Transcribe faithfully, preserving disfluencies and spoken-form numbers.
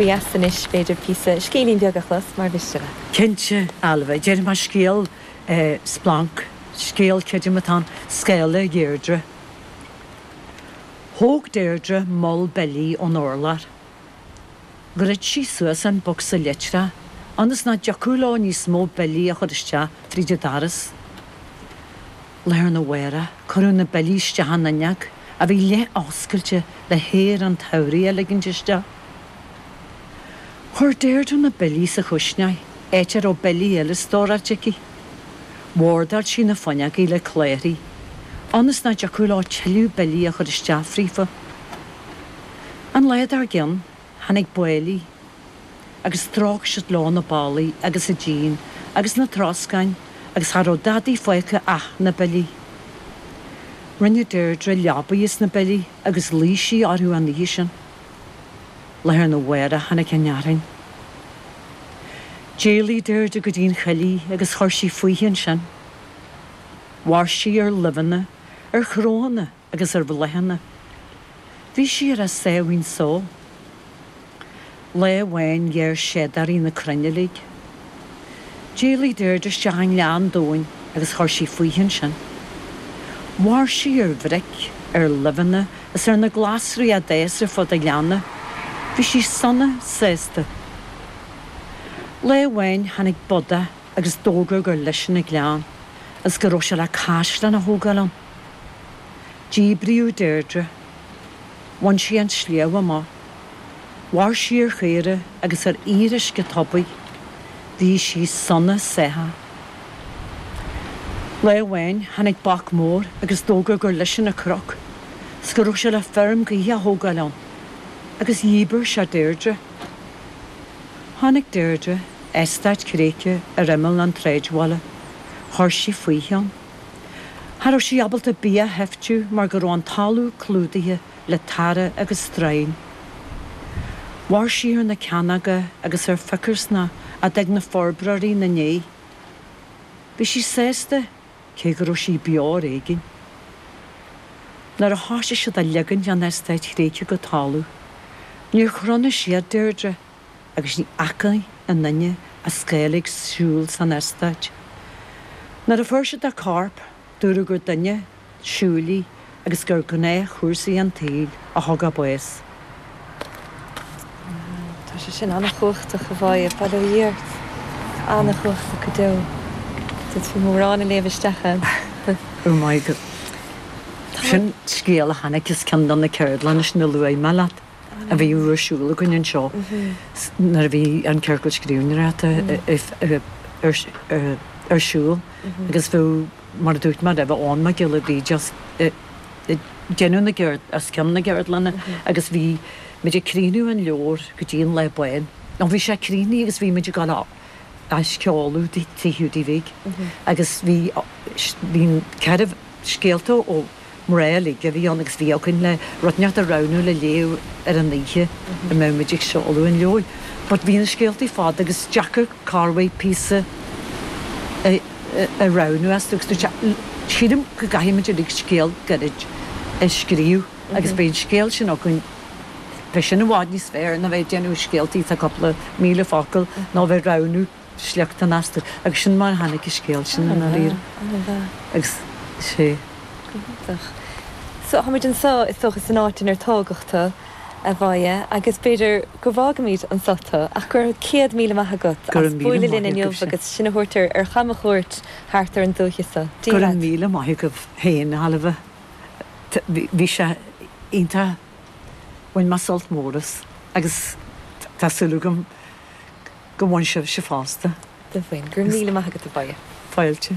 Dheas anois b'fhéidir píosa scéilín beag a chlos mar mhiste leat. Cinnte, Ailbhe, déarfaidh mé scéal splanc, scéal creidim atá ann, Scáile Dheirdre. Thóg Deirdre moll billí ón urlár. Dhruid sí suas an bocsa litreach ionas nach dtiocfadh leo níos mó billí a chur isteach fríd an doras. Lá arna mhárach, cuireadh na billí isteach an fhuinneog, a bhí leath-oscailte le haer an tsamhraidh a ligint isteach. Chuir Deirdre na billí sa chuisneoir, áit a raibh billí eile stóráilte aici. Bhordáil sí na fuinneogaí le cladhairí, ionas nach dtiocfadh leo tuilleadh billí a chur isteach fríofa. An lá dár gcionn, tháinig báillí agus stróic siad leo na ballaí agus an díon agus na troscáin agus cha raibh dadaí fágtha ach na billí. Rinne Deirdre leabaidh as na billí agus luigh sí orthu an oíche sin. Lá arna mhárach tháinig an fhearthainn. D'éalaigh Deirdre go dtí an choillidh agus chuir sí fúithi ansin. Mhair sí ar luibheanna, ar chrónna agus ar bhláthanna. Bhí sí ar a sáimhín só. Lá amháin ghearr seadóirí na crainn uilig. D'éalaigh Deirdre isteach i ngleann domhain agus chuir sí fúithi ansin. Mhair sí ar bhric, ar luibheanna is ar na glasraí a d'fhás ar fud an ghleanna. Bhí sí sona sásta. Lá amháin tháinig bodach agus d'fhógair gur leisean an gleann agus go raibh sé le caisleán a thógáil ann. Díbríodh Deirdre. Bhain sí an sliabh amach. Mhair sí ar chaora agus ar fhíoruisce tobair. Bhí sí sona sáthach. Lá amháin tháinig boc mór agus d'fhógair gur leisean an cnoc 's go raibh sé le feirm gaoithe a thógáil ann. Agus dhíbir sé Deirdre. Chonaic Deirdre eastát cnoic ar imeall an tsráidbhaile. Chuir sí fúithi ann. Cha raibh sí ábalta bia a sheiftiú mar go raibh an talamh clúdaithe le tarra agus stroighin. Mhair sí ar na ceannóga agus ar phicearsna a d'fhág na forbróirí ina ndiaidh. Bhí sí sásta cé go raibh sí beo ar éigean. Nuair a thoisigh siad ag ligean an eastáit chnoic go talamh, níor chronaigh siad Deirdre agus ní fhaca aon duine a scáil ag siúl san eastát. Nuair a fuair siad a corp, dúradh gur duine siúil í agus gur gnáthchúrsaí an tsaoil a thug a bás. Tá sé sin an-chumhachtach a Mháire, bail ó Dhia ort. An-chumhachtach go deo. D'fhéadfaí mórán a léamh isteach ann. Oh my God. Sin scéal a tháinig as ceann de na ceardlanna sin a luaigh mé leat a bhí ar siúl againn anseo nuair a bhí an ciorcal scríbhneoireachta ar siúl agus bhí mar a dúirt mé roimhe Eoin Mac Giolla Bhríde as déanamh na gceard as ceann na gceardlanna agus bhí muid ag críochnú an leabhar go dtí an lá bán. Nó bhí sé críochnaithe agus bhí muid ag dul á sheoladh Tigh Hiúdaí Bhig agus bhí bhí ceithre scéalta ó mná uilig a bhí ann agus bhí againn le rud inteacht a roghnú le léamh ar an oíche a mbeadh muid ag seoladh an leabhair. But bhí na scéaltaí fada agus deacair corrmhaith píosa a a roghnú astu agus dúirt sé sílim go gcaithfidh muid uilig scéal gairid a scríobh agus beidh an scéal sin againn beidh sin i bhfad níos fearr ná bheith ag déanamh scéaltaí atá cúpla míle focal ná bheith ag roghnú sliochtán astu agus sin mar a tháinig an scéal sin i ndáiríre. Agus sé. Go hiontach. So táimid anseo is dócha san áit inar tógadh tú, a Mháire, agus b'fhéidir go bhfágfaimid anseo tú ach go raibh céad míle maith agat Go as raibh míle bualadh linn maith inniu agaibhse. agus sinn a thabhairt ar ar chamchuairt thart ar an dúiche seo. Go Dia raibh leat. míle maith agaibh féin, a Ailbhe. Bhí sé iontach, bhain mé sult mór as agus tá súil agam go bhain sibhse fosta. Do bhain. Go raibh míle maith agat, a Mháire. Fáilte.